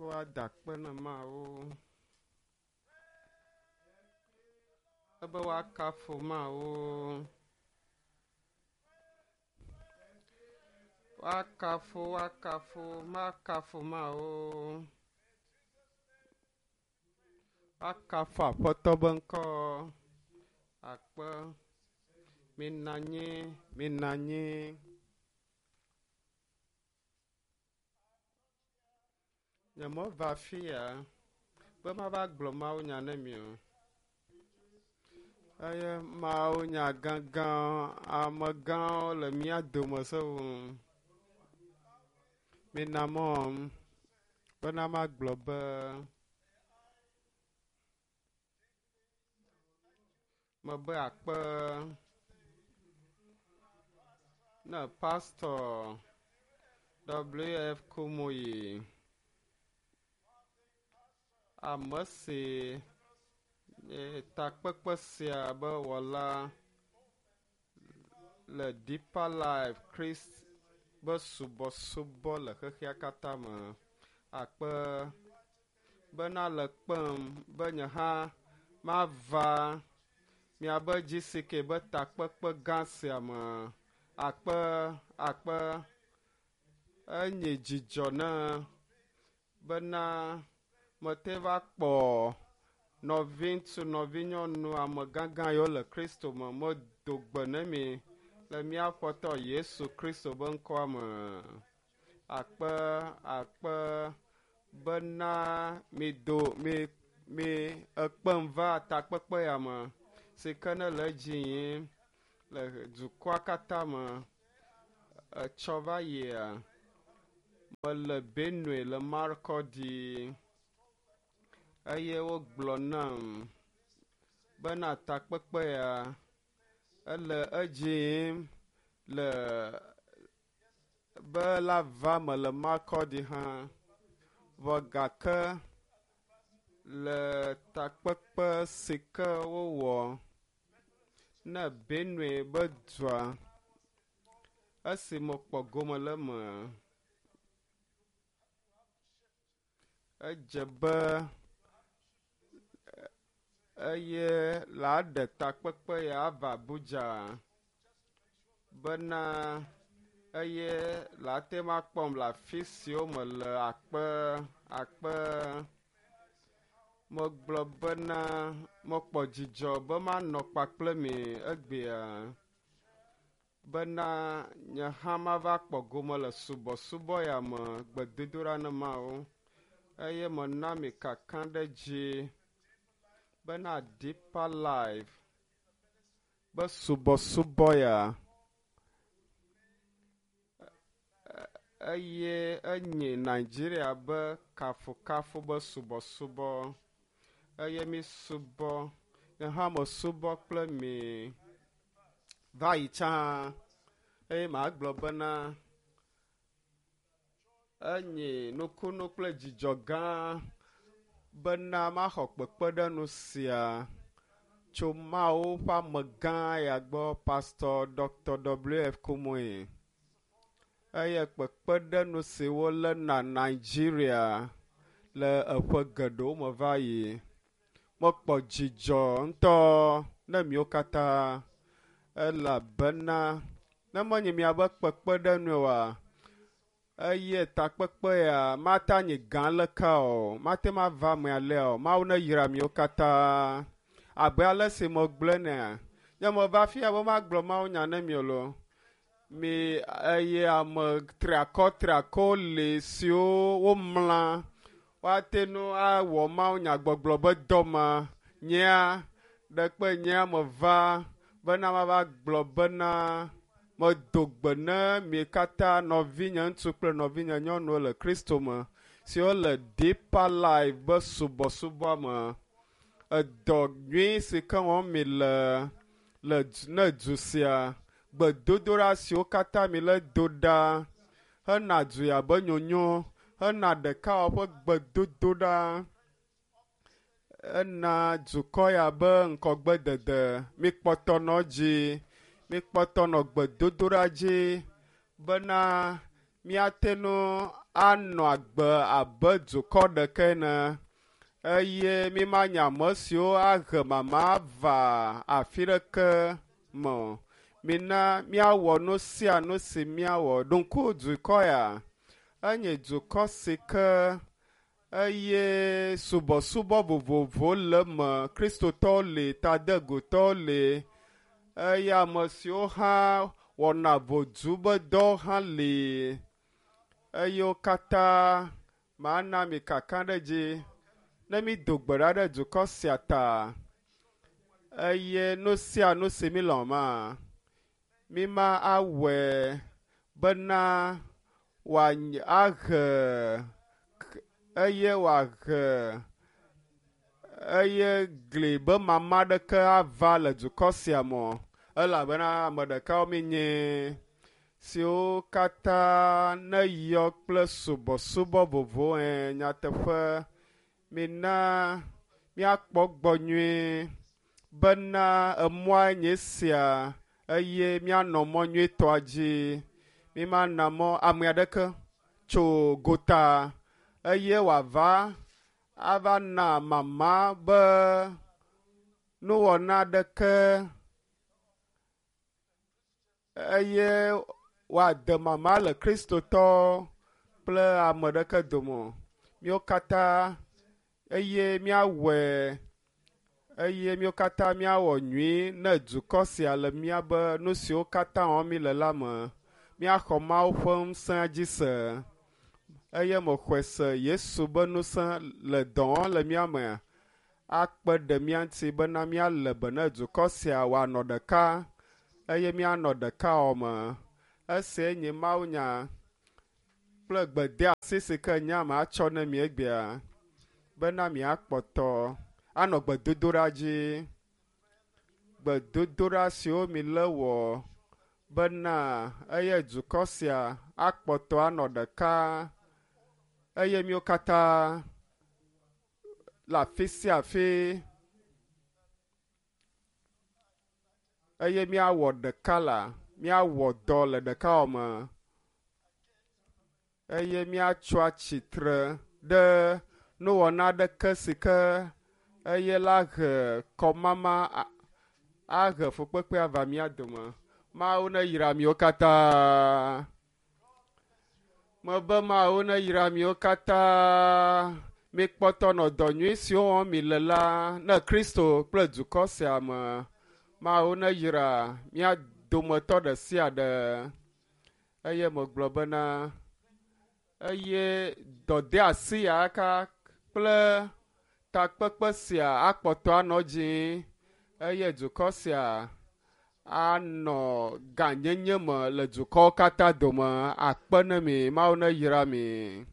Woada akpe na Mawu. Ebe woakafu Mawu. Woakafu, woakafu, woakafu Mawu. Woakafu Aƒetɔ be ŋkɔ. Akpe. Minɔ anyi, minɔ anyi. Nyemeva afia be mava gblɔ mawunya ne mi o. Eye mawunya gãgã amegãwo le mía dome sewu. Mina mɔm bena magblɔ be mebe akpe ne Pastor W.F. Kumuyi, ame si nye takpekpe sia be wɔla le Deeper Life Christ be subɔsubɔ le xexea katã me. Akpe bena le kpem be nye hã mava miabe GCK be takpekpe gã sia me. Akpe, akpe, enye dzidzɔ ne bena mete va kpɔ nɔviŋutsu, nɔvinyɔnu, ame gãgã yiwo le Kristo me. Medo gbe ne mi le mía Aƒetɔ Yesu Kristo be ŋkɔa me. Akpe, akpe bena mido, mi, mi ekpem va takpekpe ya me si ke ne le edzi yim le dukɔa katã me. Etsɔ va yia, mele Benue le Makurdi eye wogblɔ nam bena takpekpe ya ele edzi yim le be la va me le Makurdi hã. Vɔ gake le takpekpe si ke wowɔ ne Benue be dua esi mekpɔ gome le eme, edze be eye la ɖe takpekpe ya ava Abuja bena eye la te ma kpɔm le afi siwo mele akpe, akpe. Megblɔ bena mekpɔ dzidzɔ be manɔ kpakple mi egbea bena nye hã mava kpɔ gome le subɔsubɔ ya me gbedodoɖa ne Mawu eye mena mi kaka ɖe dzi bena Deeper Life be subɔsubɔ ya eye enye Nigeria be kafukafu be subɔsubɔ eye mi subɔ nye hã mesubɔ kple mi va yi tsã eye magblɔ bena enye nukunu kple dzidzɔ gã bena maxɔ kpekpeɖeŋu sia tso Mawu ƒe amegã ya gbɔ, Pastor Dr. W.F. Kumuyi. Eye kpekpeɖeŋu si wolé na Nigeria le eƒe geɖewo me va yi. Mekpɔ dzidzɔ ŋutɔ ne miwo katã elabena ne menye miabe kpekpeɖeŋue oa, eye takpekpe ya mate anyi gã leke o, mate ŋu ava eme alea o. Mawu neyra miwo katã. Abe ale si megblɔe nea, nye meva fia be magblɔ mawunya ne mi o loo. Mi eye ame triakɔ triakɔwo li siwo womlã woate ŋu awɔ mawunyagbɔgblɔ be dɔ ma. Nyea ɖekpe nyea meva bena mava gblɔ bena medo gbe ne mi katã nɔvinye ŋutsu kple nɔvinye nyɔnuwo le Kristo me siwo le Deeper Life be subɔsubɔa me. Edɔ nyui si ke wɔm mi le le ne du sia gbedodoɖa siwo katã mi le do ɖa hena du ya be nyonyo hena ɖekawɔwɔ ƒe gbedodoɖa ena dukɔ ya be ŋkɔgbedede. Mikpɔtɔ nɔ dzi, mikpɔtɔ nɔ gbedodoɖa dzi bena míate ŋu anɔ agbe abe dukɔ ɖeke ene eye mímanye ame siwo ahe mama va afi ɖeke me o. Mina míawɔ nu sia nu si míawɔ. Ɖo ŋku dukɔ ya enye dukɔ si ke eye subɔsubɔ vovovowo le eme. Kristotɔwo li, tadegutɔwo li eye ame siwo hã wɔna vodu be dɔwo hã li eye wo katã mana mi kakaɖedzi ne mído gbe ɖa ɖe dukɔ sia ta eye nu sia nu si mílɔ̃ ma míma awɔe bena wòany ahe eye wòahe eye gli be mama aɖeke ava le dukɔ sia me o elabena ame ɖekawo míenye siwo katã neyɔ kple subɔsubɔ vovovowo ẽ nyateƒe mina míakpɔ gbɔ nyuie bena emɔa nye sia eye míanɔ mɔ nyuietɔa dzi. Mímana mɔ ame aɖeke tso gota eye wòava ava na mama be nuwɔna aɖeke eye wòade mama le kristotɔ kple ame ɖeke dome o. Míwo katã eye míawɔe eye míwo katã míawɔ nyui ne dukɔ sia le míabe nu siwo katã wɔm míle la me. Míaxɔ Mawu ƒe ŋusẽ dzi se eye mexɔe se Yesu be ŋusẽ le dɔ wɔm le mía me akpe ɖe mía ŋuti bena míalé be ne dukɔ sia wòanɔ ɖeka eye míanɔ ɖekawɔwɔ me. Esia nye mawunya kple gbedeasi si ke nye ame atsɔ ne mi egbea bena miakpɔtɔ anɔ gbedodoɖa dzi. Gbedodoɖa siwo mi le wɔ bena eye dukɔ sia akpɔtɔ anɔ ɖeka eye míwo katã le afi sia afi eye míawɔ ɖeka la míawɔ dɔ le ɖekawɔwɔ me eye míatso atsitre ɖe nuwɔna aɖeke si ke eye la he kɔmama ahe fukpekpe ava mía dome. Mawu neyra miwo katã. Mebe Mawu neyra miwo katã. Mikpɔtɔ nɔ dɔ nyui siwo wɔm mi le la ne Kristo kple dukɔ sia me. Mawu neyra mía dometɔ ɖe sia ɖe. Eye megblɔ bena eye dɔdeasi ya ka kple takpekpe sia akpɔtɔ anɔ dzi eye dukɔ sia anɔ gãnyenye me le dukɔwo katã dome. Akpe ne mi, Mawu neyra mi.